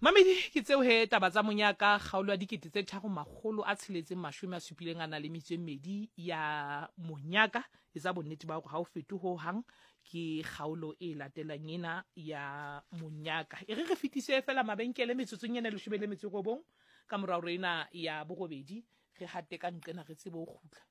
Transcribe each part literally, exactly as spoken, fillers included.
Mamedi, ke tseo he taba tsa monyaka, kgaolo ya dikete tse tharo makgolo a tsheletseng mashome a supileng a na le metso e mmedi ya monyaka. Etsa bonnete ba hore ha o fete ho hang, ke kgaolo e latelang ena ya monyaka. E re re fetise fela mabenkele metsotsong ena e leshome le metso e robong ka mora hore ena ya borobedi, re hate ka nqena re tsebe ho kgutla.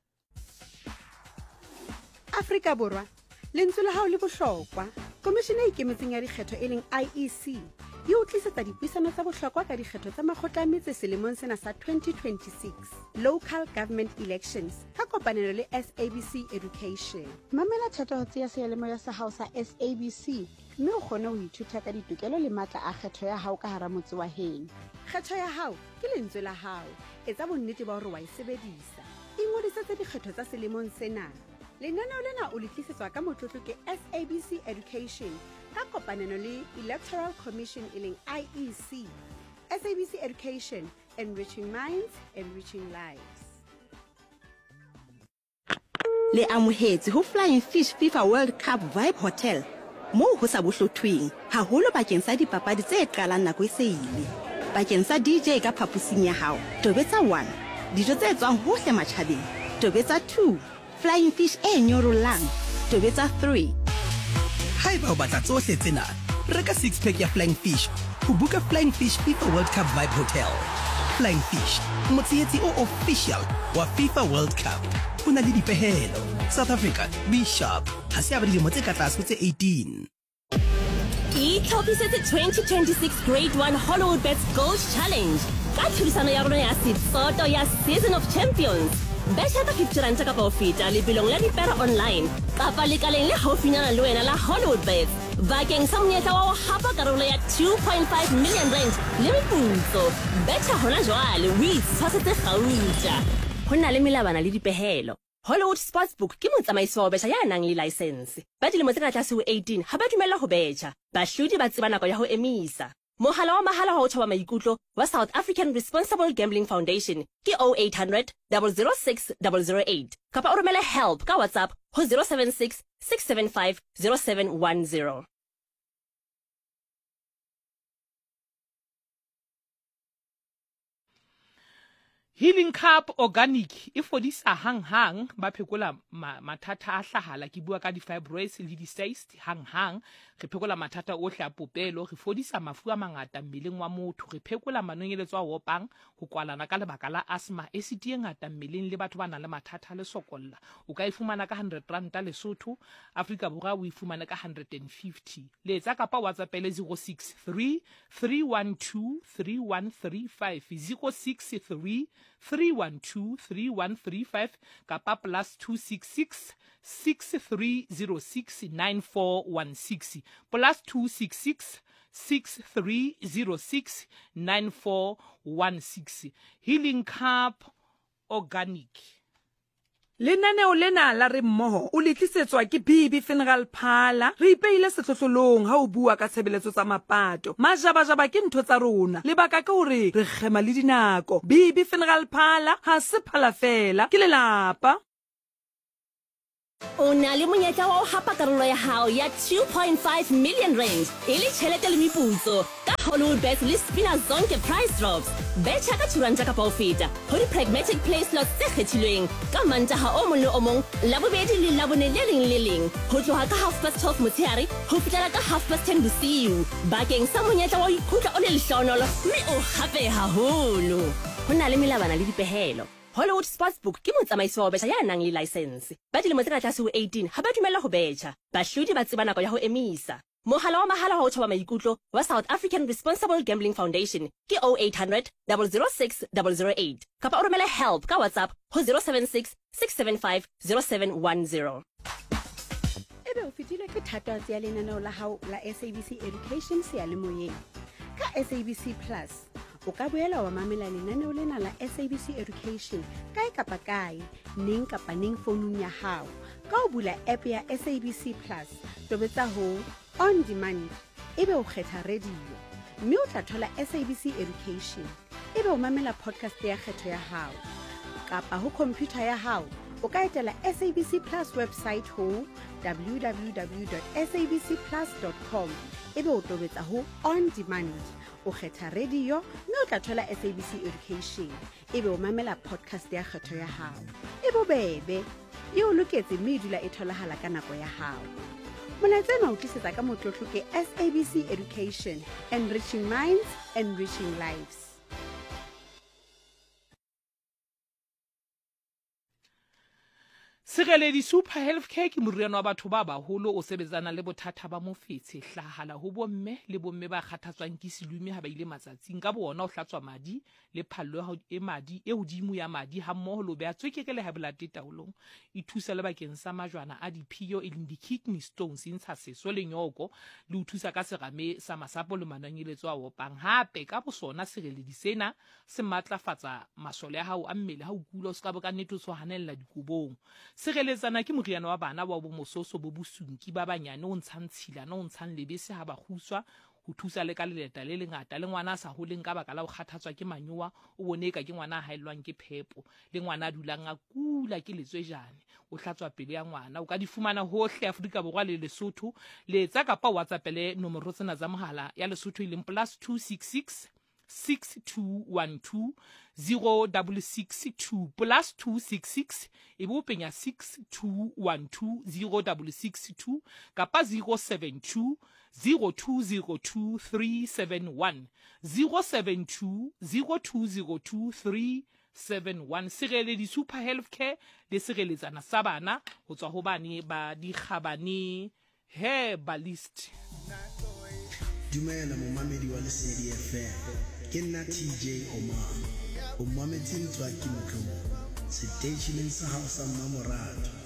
Afrika Borwa, lentswe la hao le bohlokwa. Komishene e Ikemetseng ya Dikgetho e leng I E C e o tlisetsa dipuisano tsa bohlokwa ka dikgetho tsa makgotla a metse selemong sena sa twenty twenty-six, Local Government Elections, ka kopanelo le S A B C Education. Mamela thatohatsi ya seyalemoya sa hao sa S A B C mme o kgone ho ithuta ka ditokelo le matla a kgetho ya hao ka hara motse wa heno. Kgetho ya hao ke lentswe la hao. Etsa bonnete ba hore wa e sebedisa. Ingodisetse dikgetho tsa selemong sena. Lenaneo lena o le tlisetswa ka motlotlo ke S A B C Education ka kopanelo le Electoral Commission e leng I E C. S A B C Education, enriching minds, enriching lives. Le amohetswe ho Flying Fish FIFA World Cup Vibe Hotel, moo ho sa bohlothweng haholo bakeng sa dipapadi tse qalang nako e se ile. Bakeng sa D J ka phaposing ya hao, tobetsa one. Dijo tse tswang hohle matjhabeng, tobetsa two. Flying Fish e nyorollang, tobetsa three. Haeba o batla tsohle tsena, reka six pack ya Flying Fish ho buka Flying Fish FIFA World Cup Vibe Hotel. Flying Fish, motshehetsi o official wa FIFA World Cup. Ho na le dipehelo. South Africa, be sharp. Ha se ya ba dilemo tse ka tlase ho tse eighteen. Itlhophisetse twenty twenty-six Grade one Hollywoodbets Gold Challenge ka tlhodisano ya rona ya setsoto ya Season of Champions. Betjha ka fifty ranta kapa ho feta lebelong la dipere online kapa lekaleng le haufinyana le wena la Hollywoodbets bakeng sa monyetla wa ho hapa karolo ya two point five million rand le meputso. Betjha hona jwale o itshwasetse kgauta. Ho na le melawana le dipehelo. Hollywood Sportsbook ke motsamaisi wa ho betjha ya nang le license. Ba dilemo tse ka tlase ho eighteen ha ba dumellwa ho betjha. Bahlodi ba tseba nako ya ho emisa. Mohala wa mahala wa ho thoba maikutlo wa South African Responsible Gambling Foundation ke oh eight hundred double oh six double oh eight kapa o romele help ka WhatsApp ho oh seven six six seven five oh seven one oh. Healing Cup Organic e fodisa hang-hang, ba phekola ma mathata a hlahala. Ke bua ka di-fibroids le di-cyst hang-hang. Re phekola mathata ohle a popelo, re fodisa mafu a mangata mmeleng wa motho, re phekola manonyeletso a opang, ho kwalana ka lebaka la asthma, acid e ngata mmeleng le batho ba nang le mathata a lesokolla. O ka e fumana ka hundred ranta Lesotho, Afrika Borwa o e fumane ka hundred and fifty. Letsa kapa WhatsAppele zero six three three one two three one three five, zero six three three one two three one three five kapa plus two six six six three zero six nine four one six, plus two six six six three zero six nine four one six. Healing Cup Organic. Lenaneo lena la Re Mmoho o le tlisetswa ke B B Funeral Parlour. Re ipeile sehlohlolong ha o bua ka tshebeletso tsa mapato. Majabajaba ke ntho tsa rona. Lebaka ke hore re kgema le dinako. B B Funeral Parlour ha se phala fela, ke lelapa. O na le monyetla wa ho hapa karolo ya hao ya two point five million rand e le tjhelete le meputso ka Hollywoodbets le Spina Zonke Price Drops. Betjha ka two ranta kapa ho feta ho di-pragmatic play slots tse kgethilweng ka Mantaha o mong le o mong, Labobedi le Labone le leng le leng ho tloha ka half past twelve motshehare ho fihlela ka half past ten bosiu bakeng sa monyetla wa ho ikutlwa o le lehlohonolo mme o hape haholo. Ho na le melawana le dipehelo. Hollywood Sportsbook ke motsamaisi wa ho betjha ya nang le license. Ba dilemo tse ka tlase ho eighteen ha ba dumellwa ho betjha. Bahlodi ba tseba nako ya ho emisa. Mohala wa mahala wa ho thoba maikutlo wa South African Responsible Gambling Foundation ke oh eight hundred double oh six double oh eight kapa o romele help ka WhatsApp ho oh seven six six seven five oh seven one oh. Ebe o fetilwe ke thatohatsi ya lenaneo la hao la S A B C Education seyalemoyeng? Ka S A B C Plus o ka boela wa mamela lenaneo lena la S A B C Education kae kapa kae, neng kapa neng founung ya hao. Ka ho bula app ya S A B C Plus, tobetsa ho On Demand, ebe o kgetha radio, mme o tla thola S A B C Education, ebe o mamela podcast ya kgetho ya hao. Kapa ho computer ya hao, o ka etela S A B C Plus website ho W W W dot S A B C plus dot com, ebe o tobetsa ho On Demand. O kgetha radio mme o tla thola S A B C Education. Ebe o mamela podcast ya kgetho ya hao. E bobebe, e o loketse mme e dula e tholahala ka nako ya hao. Molaetsa ena o tlisetsa ka motlotlo ke S A B C Education, enriching minds, enriching lives. Sireledi Super Healthcare ke moriana wa batho ba baholo o sebetsana le bothata ba mofetshe, hlahala ho bomme le bomme ba kgathatswang ke selume ha ba ile matsatsing. Ka bona o hlatswa madi le phallo e madi e hodimo ya madi ha mmoho le beha tswekere le high blood taolong. E thusa le bakeng sa majwana a diphio e leng di-kidney stones, e ntsha seso le nyoko, le ho thusa ka serame sa masapo le manonyeletso a opang. Hape ka bosona sireledi sena se matlafatsa masole a hao a mmele ha o kula, o ska ba ka nnete o tshwanella dikobong. Sireletsana ke moriana wa bana wa bomososo bo bosunki ba banyane o ntshang tshilana o ntshang lebese ha ba kguswa, ho thusa le ka leleta le lengata le ngwana a sa holeng ka baka la ho kgathatswa ke manyowa, o bone eka ke ngwana a haellwang ke phepo, le ngwana a dulang a kula ke letswejane, o hlatswa pelo ya ngwana. O ka di fumana hohle Afrika Borwa le Lesotho. Letsa kapa WhatsApp-ele nomoro tsena tsa mohala ya Lesotho e leng plus two six six six two one two zero double six two, plus two six six e bo penya six two one two zero double six two kapa zero seven two zero two zero two three seven one, zero seven two zero two zero two three seven one. Sireledi Super Healthcare le sireletsana sa bana ho tswa ho bane ba dikgabane herbalist. Dumela momamedi wa Lesedi F M. Ke nna T J Omar. O mametse Ntswaki Motlobo seteisheneng sa hao sa mmamoratwa.